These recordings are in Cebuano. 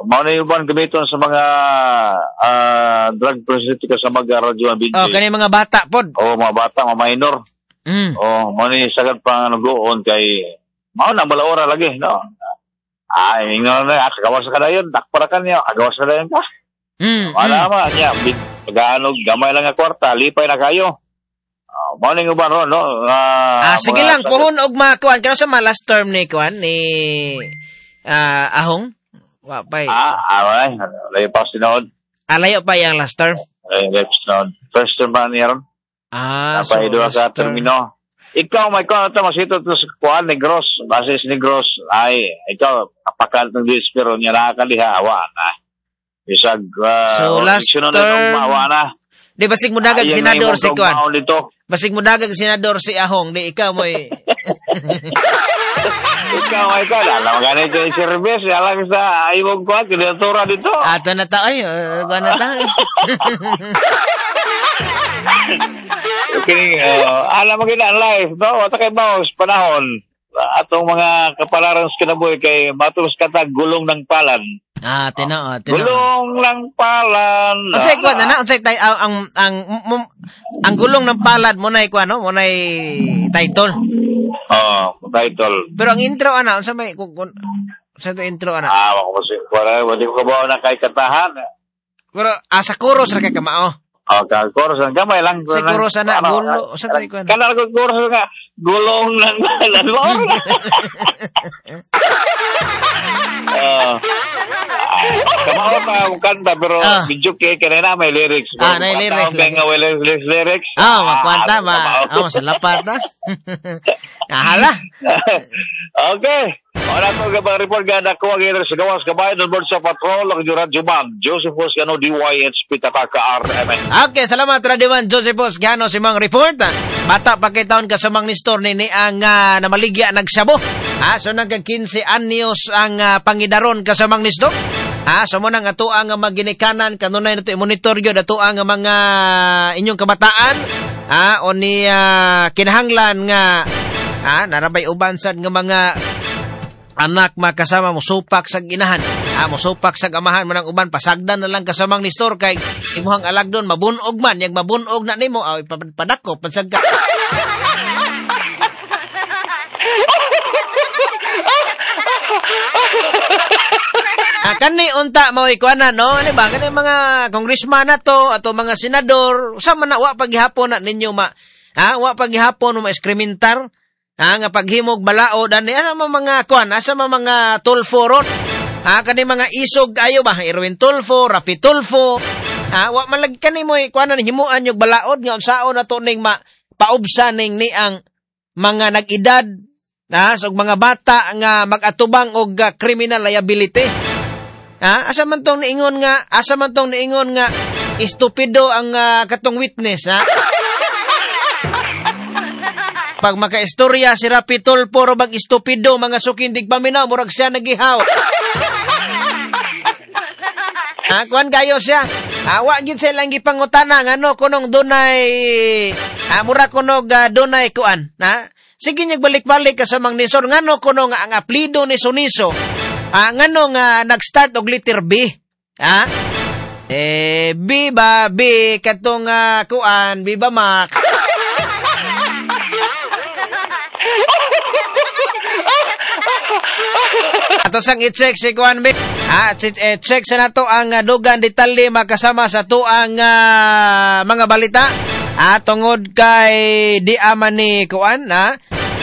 Mao na yung uban gamiton sa mga drug prostitute sa mga radyo ang Oh, kani mga bata pod. Oh, mga bata, mga minor. Oh, mao ni sagad pa nugoon kay mao na balaora lagi, no. Ay, ingon na, kagawas ka dayon, dakpara ka niya, kagawas ka dayon ka. Wala man niya, pag-anog gamay lang nga kwarta, lipay na kayo. Mao ni uban ron, no. Sige lang, puhon og makuan kano sa last term ni kuan ni Ahong. Wa pa. Ay, layo pa sinuod. Layo pa yang last term. Layo pa sinuod. First term ba niya ron? So duha ka termino. Ikaw may kuan ta masito to sa kuan Negros, basis Negros ay ikaw apakal ng dis pero niya nakaliha wa na. Bisag so last term wa na. Di basig mo dagag senador si kuan. Basig mo dagag senador si Ahong, di ikaw mo'y ikaw ay ka alam ganito yung service, alam sa imong kuan kandidatura dito. Ato na ta ay, kuan na ta. Okay, alam mo gina ang life, no? Wata kay baos panahon atong mga kapalaran sa kinabuhi kay matulos kata gulong ng palan. Tinuod. Gulong ng palan. Unsay kuan na unsay tay ang gulong ng palad mo nay kuan no, mo nay title. Oh, title. Pero ang intro ana unsa may kun sa to intro ana? Wa ko kasi wala di ko kabaw na kay katahan. Pero sa chorus ra kay kamao. Oh, ka chorus ang gamay lang. Sa chorus ana gulo sa tay kuan. Kanal ko chorus nga gulong ng palad. Kamao pa ang kanta pero medyo kay kanina may lyrics. May lyrics. Kaya nga may lyrics. Makwanta ba? Salapat na. Ahala. Okay. Wala ko ga report ga nakuha gyud sa gawas kabayan on board sa patrol ang Radyo Man Joseph Boscano DYHP Tataka RMN. Okay, salamat Radio Man Joseph Boscano sa imong report. Bata pa kay taon ka sa mang Nestor ni ang namaligya nagsabo. So nagka 15 anyos ang pangidaron ka sa mang Nestor. So mo nang ato ang maginikanan kanunay nato i-monitor gyud ato ang mga inyong kabataan o ni kinahanglan nga narabay uban sad nga mga anak makasama mo supak sa ginahan, mo supak sa amahan mo nang uban pasagdan na lang kasamang ni store kay imuhang alagdon mabunog man yang mabunog na nimo padako pansag ka. Kani unta mao ikuanan no, ano ba kani mga congressman na to ato mga senador, usa man na wa paghihapon na ninyo ma wa paghihapon mo ma-eskrimentar. Nga paghimog balaod ani asa man mga kuan, asa man mga Tulfo ron. Kani mga isog ayo ba Erwin Tulfo, Rapi Tulfo. Wa man lagi kani mo kuanan himuan yung balaod nga unsaon ato ning ma paubsa ning ni ang mga nag-edad sa mga bata nga mag-atubang og criminal liability. Asa man tong niingon nga, asa man tong niingon nga estupido ang katong witness ha. Pag makaistorya si Rapi Tulfo ro bag estupido mga sukindig paminaw murag siya nagihaw. Kuan kayo siya. Wa gyud siya lang gipangutana ngano kunong dunay mura kunog dunay kuan, ha? Sige niya balik-balik ka sa mang Nisor ngano kuno nga ang aplido ni Suniso. Ngano nga nag-start og letter B. Ha? B ba B katong kuan B ba Mac. Ato sang i-check si Kuan B. I-check sa nato ang dugang detalye makasama sa tuang mga balita. Tungod kay di ama ni Kuan, ha?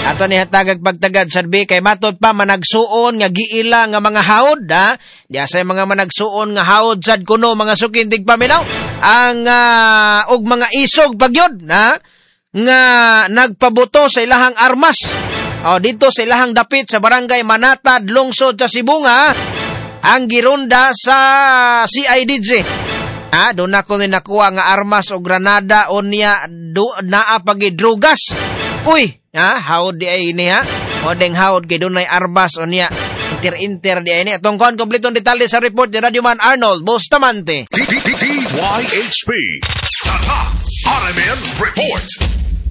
Ato ni hatagag pagtagad sa B kay matod pa managsuon nga giila nga mga haod, ha? Diya sa mga managsuon nga haod sad kuno mga sukindig paminaw ang og mga isog pagyod, ha? Nga nagpabuto sa ilahang armas. O, dito sa ilahang dapit sa barangay Manatad, lungsod sa Sibunga, ang gironda sa CIDG. Doon ako ni nakuha nga armas o granada o niya do, naa pagidrugas. Uy, haod di ay ni ha. O deng haod kay dunay armas o niya inter-inter di ay ni. Atong kon kompletong detalye sa report ni Radyo Man Arnold Bustamante. DYHP. Tatak RMN Report.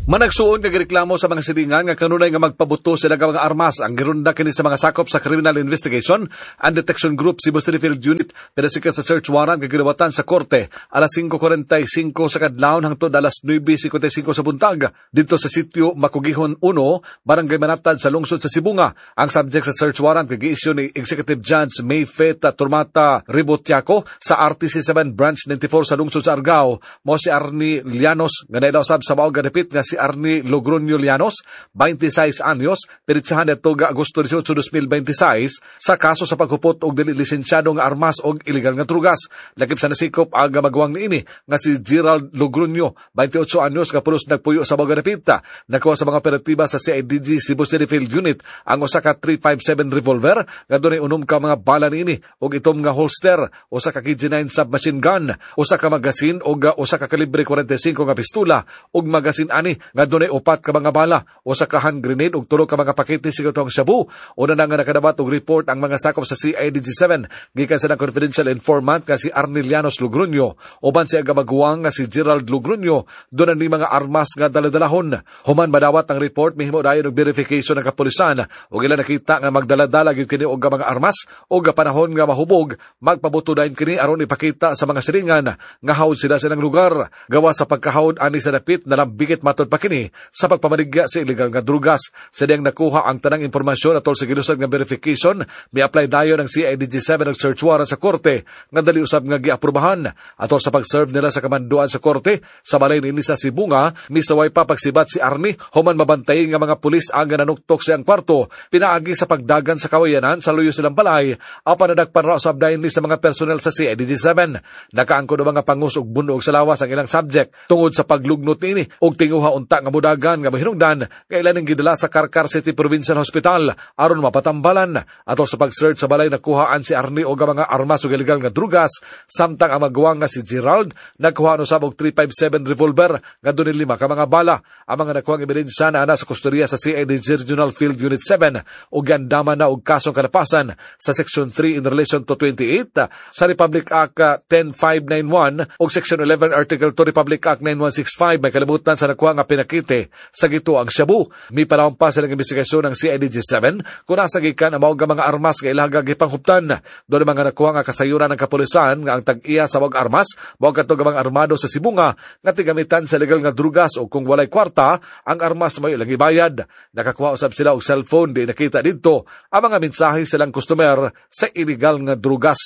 Managsuon nga gireklamo sa mga silingan nga kanunay nga magpabuto sila nga mga armas. Ang girunda kini sa mga sakop sa Criminal Investigation and Detection Group Cebu City Field Unit pinasikat sa search warrant nga gilawatan sa korte alas 5:45 sa kadlawon hangtod alas 9:55 sa buntag didto sa sitio Makugihon 1, Barangay Manatad sa lungsod sa Sibonga. Ang subject sa search warrant nga gi-issue ni Executive Judge May Feta Turmata Ribotiaco sa RTC 7 Branch 94 sa lungsod sa Argao mo si Arnie Llanos nga naila usab sa maog gadapit nga si Arnie Logroño Llanos, 26 anyos, peritsahan nito ga Agosto 18, 2026 sa kaso sa paghupot og dili lisensyado nga armas og ilegal nga drugas. Lakip sa nasikop ang magwang niini nga si Gerald Logroño, 28 anyos, nga pulos nagpuyo sa maog dapit. Nakuha sa mga operatiba sa CIDG Cebu City Field Unit ang usa ka 357 revolver nga dunay 6 ka mga bala niini og itom nga holster, usa ka KG9 submachine gun, usa ka magasin og usa ka kalibre 45 nga pistola ug magasin ani nga dunay 4 ka mga bala, usa ka hand grenade ug 3 ka mga pakete sa gatong shabu. Una na nga nakadabat og report ang mga sakop sa CIDG 7 gikan sa confidential informant nga si Arnie Llanos Logroño uban sa maguwang nga si Gerald Logroño doon ni mga armas nga daladalahon. Human madawat ang report, mihimo dayon og verification ng kapulisan ug ila nakita nga magdaladala gyud kini og mga armas ug panahon nga mahubog magpabuto dayon kini aron ipakita sa mga silingan nga hawd sila sa ilang lugar. Gawa sa pagkahawd ani sa dapit nalambigit matud pa kini sa pagpamaligya sa ilegal nga drugas. Sa diyang nakuha ang tanang impormasyon atol sa gilusad nga verification, mi-apply dayon ang CIDG 7 og search warrant sa korte nga dali usab nga giaprobahan. Atol sa pag-serve nila sa kamanduan sa korte sa balay niini sa Sibonga, misaway pa pagsibat si Arnie human mabantay nga mga pulis ang nanuktok sa iyang kwarto pinaagi sa pagdagan sa kawayanan sa luyo silang balay apan nadagpan ra usab dayon ni sa mga personnel sa CIDG 7. Nakaangkon og mga pangus og bunog sa lawas ang ilang subject tungod sa paglugnot niini og tinguha unta nga mudagan nga mahinungdan kay ilan gidala sa Carcar City Provincial Hospital aron mapatambalan. Atol sa pag-search sa balay nakuhaan si Arnie og mga armas ug ilegal nga drugas, samtang ang maguwang nga si Gerald nagkuha usab og 357 revolver nga dunay 5 ka mga bala. Ang mga nakuhang ebidensya na ana sa kustodiya sa CIDG Regional Field Unit 7 ug giandaman na og kasong kalapasan sa Section 3 in relation to 28 sa Republic Act 10591 ug Section 11 Article 2 Republic Act 9165 may kalibutan sa nakuha nga pinakite sa gito ang shabu. Mipanahon pa silang investigasyon ng CIDG 7 kung nasa gikan ang maog mga armas nga ilaha gipanghuptan. Doon mga nakuha nga kasayuran ng kapulisan nga ang tag-iya sa maog armas mao kadto mga armado sa Sibonga nga tigamitan sa legal nga drugas o kung walay kwarta ang armas may ilang ibayad. Nakakuha usab sila og cellphone di nakita didto ang mga mensahe silang customer sa illegal nga drugas.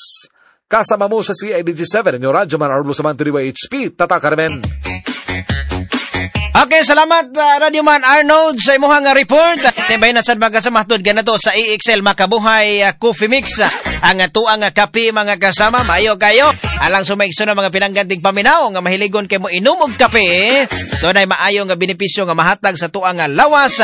Kasama mo sa CIDG 7 inyo Radyo Man Arlo sa DYHP, Tata Carmen. Okay, salamat Radio Man Arnold sa imuhang report. Tibay na sad mga kasama hantod ganato sa EXL Makabuhay Coffee Mix. Ang tuang kape mga kasama, maayo kayo. Alang sumaigso na mga pinangganting paminaw nga mahiligon kay mo inom og kape. Dunay maayo nga benepisyo nga mahatag sa tuang lawas.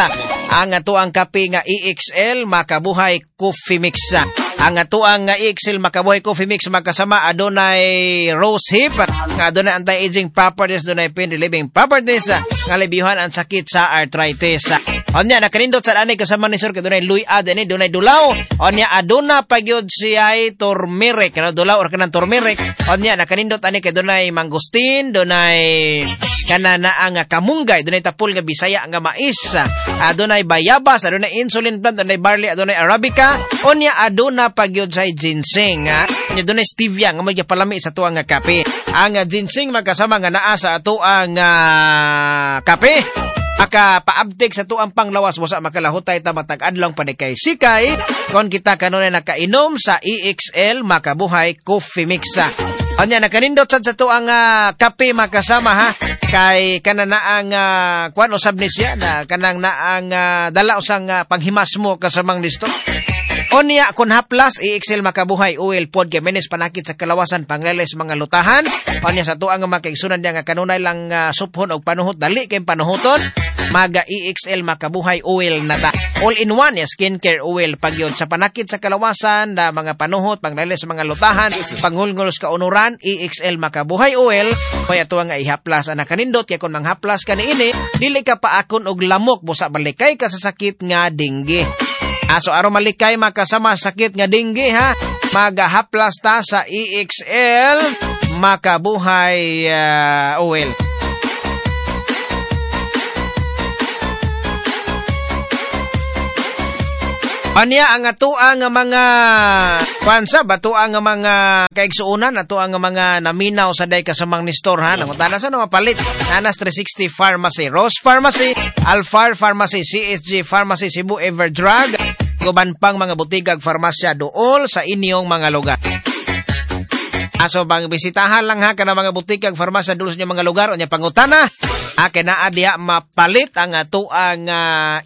Ang tuang kape nga EXL Makabuhay Coffee Mix. Ang tuang EXL Makabuhay Coffee Mix magkasama adunay rose hip, adunay anti-aging properties, adunay pain relieving properties, nga alibyuhan ang sakit sa arthritis. Onya nakanindot sa ani kasama ni sir kay dunay luy-ad ani dunay dulaw. Onya aduna pa gyud siya turmeric, ano dulaw or kanang turmeric. Onya nakanindot ani kay dunay mangosteen, dunay kana na ang kamunggay, dunay tapol nga Bisaya nga mais, adunay bayabas, adunay insulin plant, adunay barley, adunay arabica. Onya aduna pa gyud say ginseng, nya dunay stevia nga magpalami sa tuang nga kape. Ang ginseng magkasama nga naa sa atuang kape makapaabtik sa tuang panglawas busa makalahutay ta matag adlaw panikay sikay kon kita kanunay nakainom sa EXL Makabuhay Coffee Mix. Anya nakanindot sad sa tuang kape makasama ha kay kana naang kuan usab ni siya na kanang naang dala usang panghimas mo kasamang listo. Onya kun haplas EXL Makabuhay oil pod kay menes panakit sa kalawasan pangleles mga lutahan. Onya sa tuang makaigsunan niya nga kanunay lang suphon og panuhot dali kay panuhoton maga EXL Makabuhay oil na ta. All in one ya skincare oil pagyon sa panakit sa kalawasan na mga panuhot pangleles mga lutahan pangulngol sa kaunuran EXL Makabuhay oil kaya tuang nga ihaplas ana kanindot kay kun manghaplas ka niini dili ka paakon og lamok busa balikay ka sa sakit nga denggi. Aso aron malikay makasama sakit nga denggi ha, magahaplas ta sa EXL Makabuhay oil. Anya ang atoa nga mga kwansa, batoa nga mga kaigsuonan, atoa nga mga naminaw sa day kasamang ni Store ha. Nangutana sa na mapalit. Anas 360 Pharmacy, Rose Pharmacy, Alfar Pharmacy, CSG Pharmacy, Cebu Everdrug, guban pang mga butigag farmasya dool sa inyong mga lugar. Aso bang bisitahan lang ha kana mga butikag farmasya dool sa inyong mga lugar unya pangutana. Kay naa diha mapalit ang atoang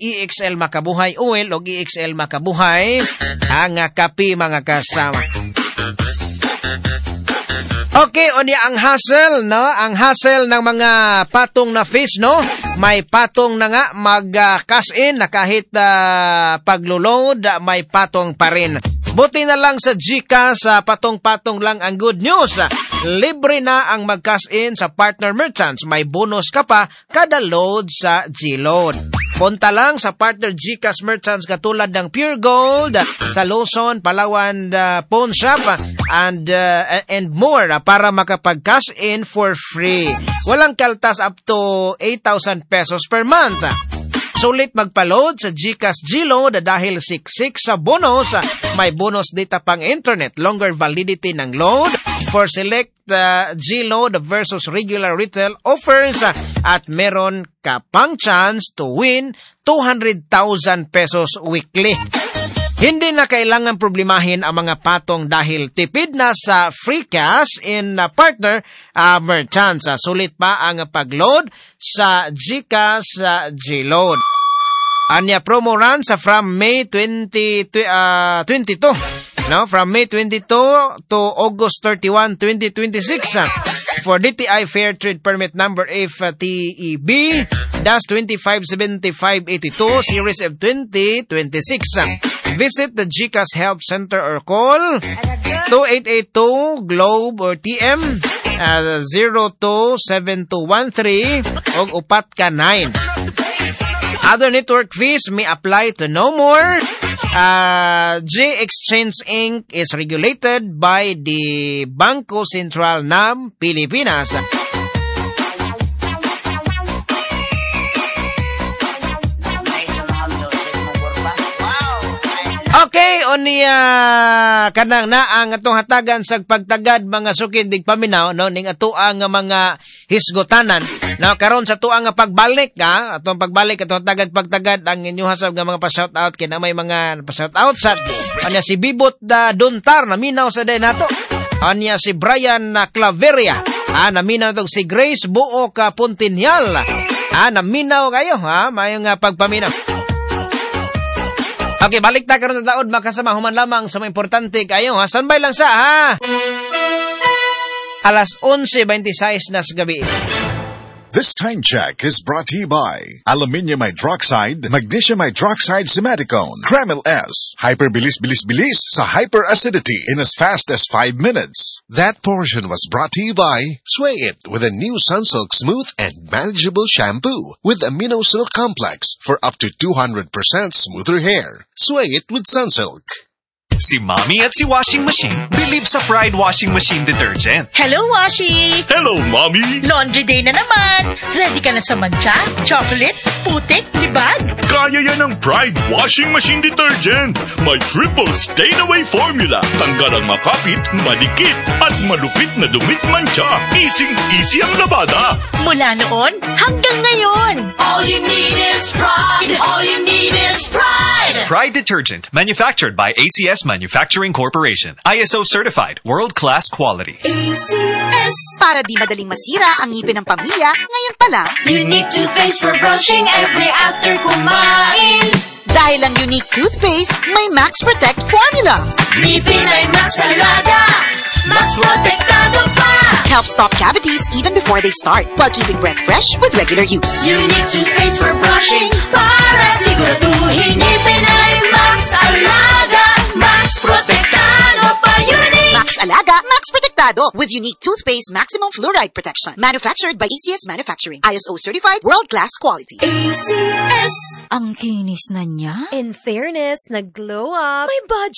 EXL Makabuhay Oil o EXL Makabuhay ang kape mga kasama. Okay, unya ang hassle, no? Ang hassle ng mga patong na fees, no? May patong na nga mag-cash in na kahit paglo-load, may patong pa rin. Buti na lang sa GCash, patong-patong lang ang good news. Libre na ang mag-cash in sa partner merchants. May bonus ka pa kada load sa G-Load. Punta lang sa partner GCash merchants katulad ng Pure Gold sa Luzon, Palawan, Pawn Shop and more para makapag-cash in for free. Walang kaltas up to 8,000 pesos per month. Sulit magpa-load sa GCash G-Load dahil siksik sa bonus. May bonus data pang internet, longer validity ng load for select G-Load versus regular retail offers at meron ka pang chance to win 200,000 pesos weekly. Hindi na kailangan problemahin ang mga patong dahil tipid na sa free cash in partner merchants. Sulit pa ang pag-load sa GCash G-Load. Anya promo run sa from May 20, 22. No, from May 22 to August 31, 2026. For DTI Fair Trade Permit number FTEB-257582 series of 2026. Visit the GCash Help Center or call 2882 Globe or TM 027213 og upat ka 9. Other network fees may apply to no more. G Exchange Inc. is regulated by the Bangko Sentral ng Pilipinas. Okay, unya kanang naang atong hatagan sa pagtagad mga sukid dig paminaw, no, ning atoang nga mga hisgotanan. No, karon sa tuang nga pagbalik ha, atong pagbalik atong hatagan pagtagad ang inyong hasab nga mga pa-shout out kay na may mga pa-shout out sa anya si Bibot da Duntar naminaw sa day nato. Anya si Brian na Claveria, ha, naminaw tong si Grace Buo ka Puntinial. Ha, naminaw kayo ha, maayong pagpaminaw. Okay, balik ta karon sa taod makasama human lamang sa mga importante kayo ha. Standby lang sa ha. Alas 11:26 na sa gabi. This time check is brought to you by Aluminium Hydroxide, Magnesium Hydroxide Simeticone, Kremil S, Hyper Bilis Bilis Bilis sa Hyperacidity in as fast as 5 minutes. That portion was brought to you by Sway It with a new Sunsilk Smooth and Manageable Shampoo with Amino Silk Complex for up to 200% smoother hair. Sway It with Sunsilk. Si Mommy at si Washing Machine believe sa Pride Washing Machine Detergent. Hello, Washi! Hello, Mommy! Laundry day na naman! Ready ka na sa mantsa, chocolate, putik, libag? Kaya yan ang Pride Washing Machine Detergent! May triple stain-away formula. Tanggal ang makapit, madikit, at malupit na dumit mantsa. Easy-easy ang labada! Mula noon hanggang ngayon! All you need is Pride! All you need is Pride! Pride Detergent, manufactured by ACS Manufacturing Corporation. ISO certified, world-class quality. ACS. Para di madaling masira ang ngipin ng pamilya, ngayon pa lang. Unique toothpaste for brushing every after kumain. Dahil ang Unique toothpaste, may Max Protect formula. Ngipin ay Max Alaga, Max Protektado pa. Help stop cavities even before they start, while keeping breath fresh with regular use. Unique toothpaste for brushing, para siguraduhin ngipin ay Max Alaga, Max Protektado pa. Unique! Max Alaga, Max Protektado with Unique Toothpaste Maximum Fluoride Protection. Manufactured by ACS Manufacturing. ISO certified, world-class quality. ACS. Ang kinis na niya. In fairness, nag-glow up. May budget.